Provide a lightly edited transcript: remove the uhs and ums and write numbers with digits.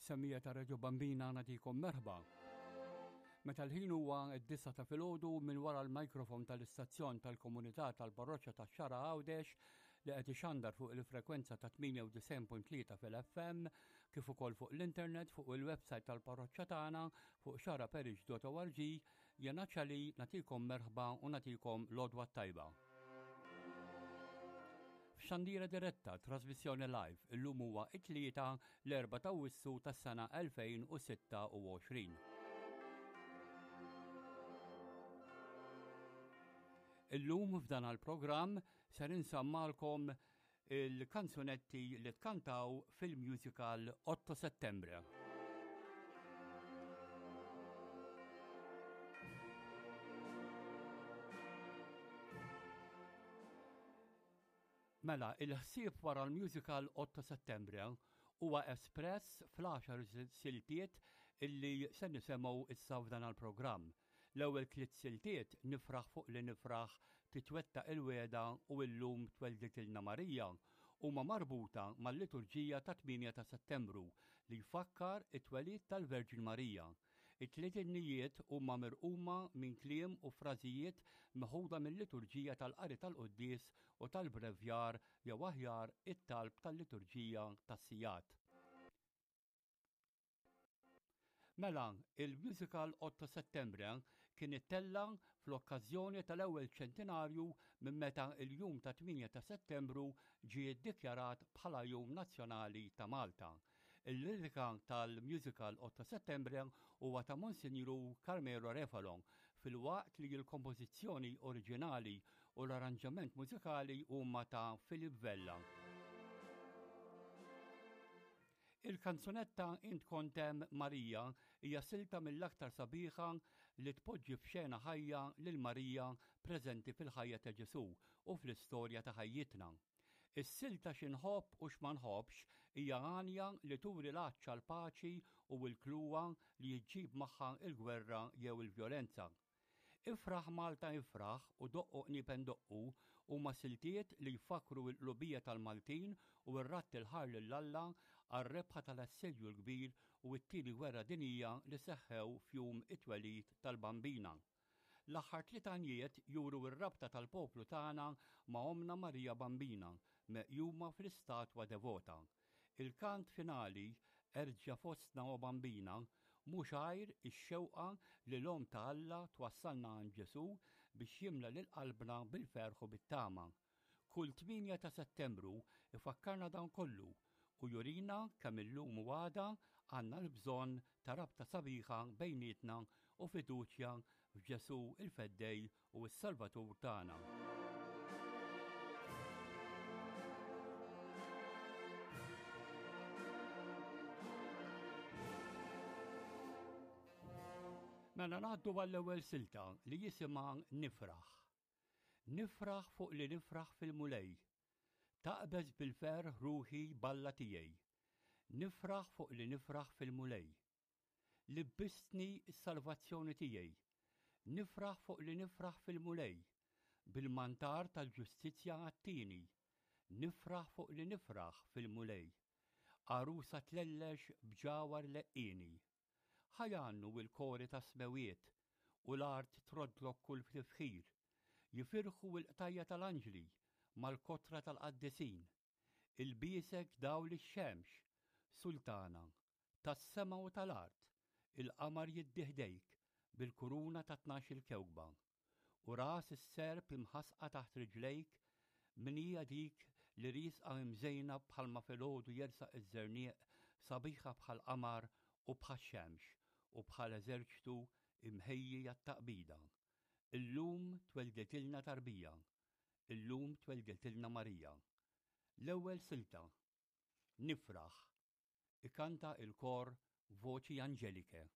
Semmija ta' Radio Bambina nagħtikom merħba. Meta l-ħin huwa d-disa ta' filgħodu minn wara l-mikrofon tal-istazzjon tal-komunità tal-parroċċa ta' Xara Għawdex li qed ixandar fuq il-frekwenza ta' 98.3 fil-FM kif ukoll fuq l-internet fuq il-website tal-parroċċa tagħna fuq xaraparish.org Jena ċali nagħtikom merħba u nagħtikom l-għodwa t-tajba. F'xandira diretta, trasmissjoni live, illum huwa it-tlieta l-4 ta' Awwissu tas-sena 2026. Illum f'dan għal-programm ser insammalkom il-kanzunetti li tkantaw fil-musical 8 Settembre. Mela, il-ħsieb wara l-musical 8 Settembre huwa espress fl-għaxar siltiet illi se nisemgħu issa f'dan il-programm. L-ewwel tliet siltiet, Nifraħ fuq li nifraħ, Titwettaq il-wegħda u Illum twelditilna Marija, huma marbuta mal-liturġija tat-tmienja ta' Settembru li jfakkar it-twelid tal-Verġni Marija. It-tliet innijiet huma mirquma minn kliem u frażijiet meħuda mil-liturġija tal-qari tal-quddies u tal-brevjar jew aħjar it-talb tal-liturġija tas-sigħat. Mela, il-musical Otto Settembre kien ittella' fl-okkażjoni tal-ewwel ċentinarju minn meta l-jum ta' 8 ta' Settembru ġie ddikjarat bħala Jum Nazzjonali ta' Malta. Il-lirika tal-musical Otto Settembre huwa ta' Monsinjur Carmelo Refalo, filwaqt li l-kompożizzjoni oriġinali u l-arranġament mużikali huma ta' Philip Vella. Il-kanzunetta Int Kont Hemm Marija hija silta mill-aktar sabiħa li tpoġġi f'xena ħajja lil Marija preżenti fil-ħajja ta' Ġesù u fl-istorja ta' ħajjitna. Is-silta Xi Nħobb u X'ma Nħobbx hija għanja li turi l-għatx għall-paċi u l-kluwa li ġġib magħha l-gwerra jew il-vjolenza. Ifraħ Malta Ifraħ u Doqqu Qniepen Doqqu huma siltiet li jfakkru l-qlubija tal-Maltin u r-radd il-ħar lil Alla għar-rebħa tal-Assedju l-Kbir u t-Tieni Gwerra Dinjija li seħħew f'jum it-twelid tal-Bambina. L-aħħar tliet għanjiet juru r-rabta tal-poplu tagħna ma' Ommna Marija Bambina meqjuma fl-istatwa devota. Il-kant finali, Erġa' fostna o Bambina, mhux għajr ix-xewqa li l-Omm ta' Alla twassalna għand Ġesù biex jimla lil qalbna bil-ferħ u bit-tama. Kull 8 ta' Settembru ifakkarna dan kollu u jurina kemm illum u għada għandna l-bżonn ta' rabta sabiħa bejnietna u fiduċja f'Ġesù il-Feddej u s-Salvatur tagħna. Mela ngħaddu għall-ewwel silta li jisimha Nifraħ. Nifraħ fuq li nifraħ fil-Mulej. Taqbeż bil-ferħ ruħi b'Alla tiegħi. Nifraħ fuq li nifraħ fil-Mulej. Libbistni s-salvazzjoni tiegħi. Nifraħ fuq li nifraħ fil-Mulej. Bil-mantar tal-ġustizzja għattini. Nifraħ fuq li nifraħ fil-Mulej. Għarusa tlellex b'ġawhar leqqieni. Ħa jgħannu l-kori tas-smewwiet, u l-art troddlok kull tifħir. Jifirħu l-qtajja' tal-anġli mal-kotra tal-qaddisin. Ilbiesek dawl ix-xemx, Sultana, tas-sema u tal-art, il-qamar jiddi ħdejk bil-kuruna ta' tnax-il kewkba. U ras is-serp imħassqa taħt riġlejk, min hija dik li riesqa imżejna bħalma filgħodu jersaq iż-żerniq sabiħa bħall-qamar u bħax-xemx u bħal eżerċtu imħejji għat-taqbida. Illum twelditilna tarbija, Illum twelditilna Marija. L-ewwel silta. Nifraħ. Ikanta il-kor Voci Angeliche.